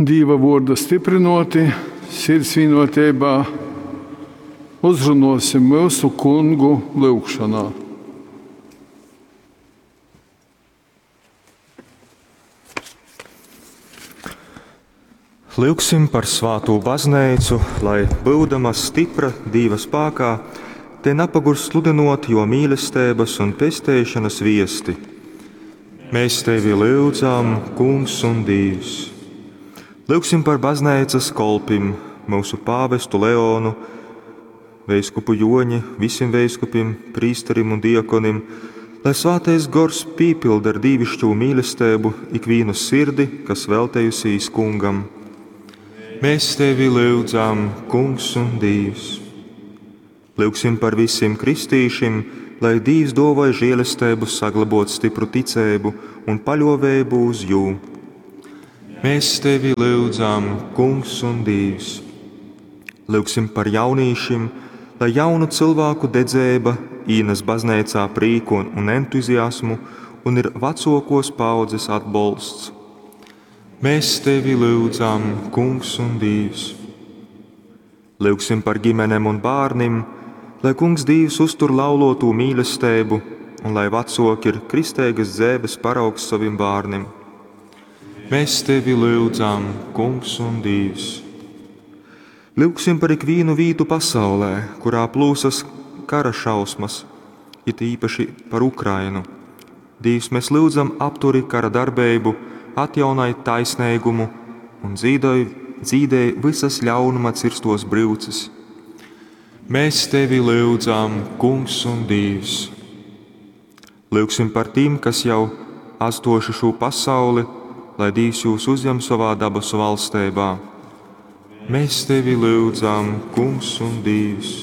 Dīva vuorda styprynuoti, sirds vīnuoteibā uzrunuosim myusu Kungu lyugšonā. Lyugsim par svātū bazneicu, lai, byudama stypra Dīva spākā, tei napagurst sludynuot juo mīlesteibys un pesteišonys viesti. Mēs tevi lyudzam, Kungs un Dīvs! Lyugsim par bazneicys kolpim, myusu pāvestu Leonu, veiskupu Juoņi, vysim veiskupim, prīsterim un diakonim, lai Svātais Gors pīpylda ar dīviškū mīlesteibu ikvīnu sirdi, kas veltejusīs Kungam. Mēs tevi lyudzam, Kungs un Dīvs! Lyugsim par vysim kristīšim, lai Dīvs duovoj žielesteibu saglobuot stypru ticeibu un paļuoveibu uz jū. Mēs tevi lyudzam, Kungs un Dīvs! Lyugsim par jaunīšim, lai jaunu cylvāku dedzeiba īnes bazneicā prīku un entuziasmu un ir vacuokuos paaudzes atbolsts. Mēs tevi lyudzam, Kungs un Dīvs! Lyugsim par ģimenem un bārnim, lai Kungs Dīvs uztur lauluotū mīlesteibu un lai vacuoki ir kristeigys dzeives paraugs sovim bārnim. Mēs tevi lyudzam, Kungs un Dīvs! Lyugsim par ikvīnu vītu pasaulē, kurā plūsas kara šausmas, it īpaši par Ukrainu. Dīvs, mēs lyudzam, apturi kara darbeibu, atjaunoj taisneigumu un dzīdoj, dzīdej vysas ļaunuma cirstuos bryuces. Mēs tevi lyudzam, Kungs un Dīvs! Lyugsim par tim, kas jau atstojuši šū pasauli, lai Dīvs jūs uzņem savā dabasu valsteibā. Mēs tevi lyudzam, Kungs un Dīvs!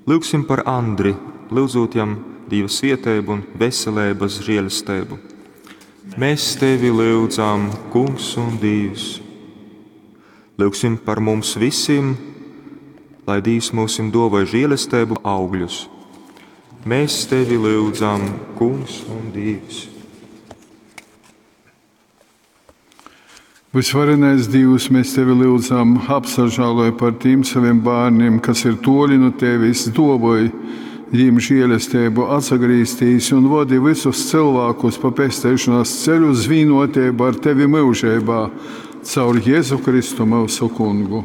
Lyugsim par Andri, lyudzūt jam Dīva svieteibu un veseleibas žēlesteibu. Mēs tevi lyudzam, Kungs un Dīvs! Lyugsim par mums visiem, lai Dīvs mūsim duovoj žēlesteibu augļus. Mēs tevi lyudzam, Kungs un Dīvs! Vysvarenais Dīvs, mēs tevi lyudzam, apsažāloj par tīm savim bārnim, kas ir tuoli nu tevis, duovoj jīm žielesteibu atsagrīztīs un vodi vysus cylvākus pa pesteišonas ceļu uz vīnuoteibu ar tevi myužeibā, caur Jezu Kristu myusu Kungu.